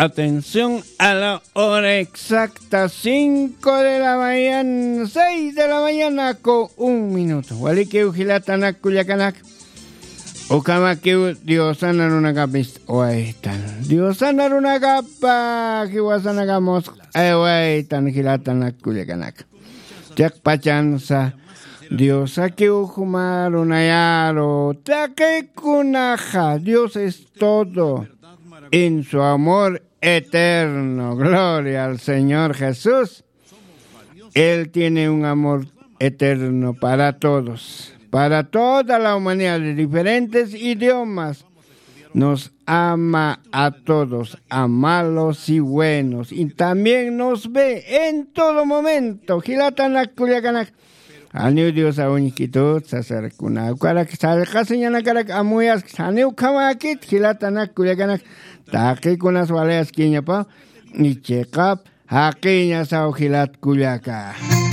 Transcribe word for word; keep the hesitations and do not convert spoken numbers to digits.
Atención a la hora exacta, cinco de la mañana, seis de la mañana con un minuto. Walikiw jilatanak kullakanak. Ukamakiw Diosana runakapis waytan. Diosana runakapa jiwasanakamus aywaytan jilatanak kullakanak. Chiqpachansa Diosakiw juma runayaru taqikunaxa. Dios es todo en su amor eterno. Gloria al Señor Jesús. Él tiene un amor eterno para todos, para toda la humanidad de diferentes idiomas. Nos ama a todos, a malos y buenos, y también nos ve en todo momento. Jilatanak kullakanak, janiw Diosa uñkitut sasarkuna ukarak sallqasiñanakarak amuyas janiw khamakit. Jilatanak kullakanak, taqikunas walayaskiñapa. Ichiqap jaqiñasaw jilat kullaka.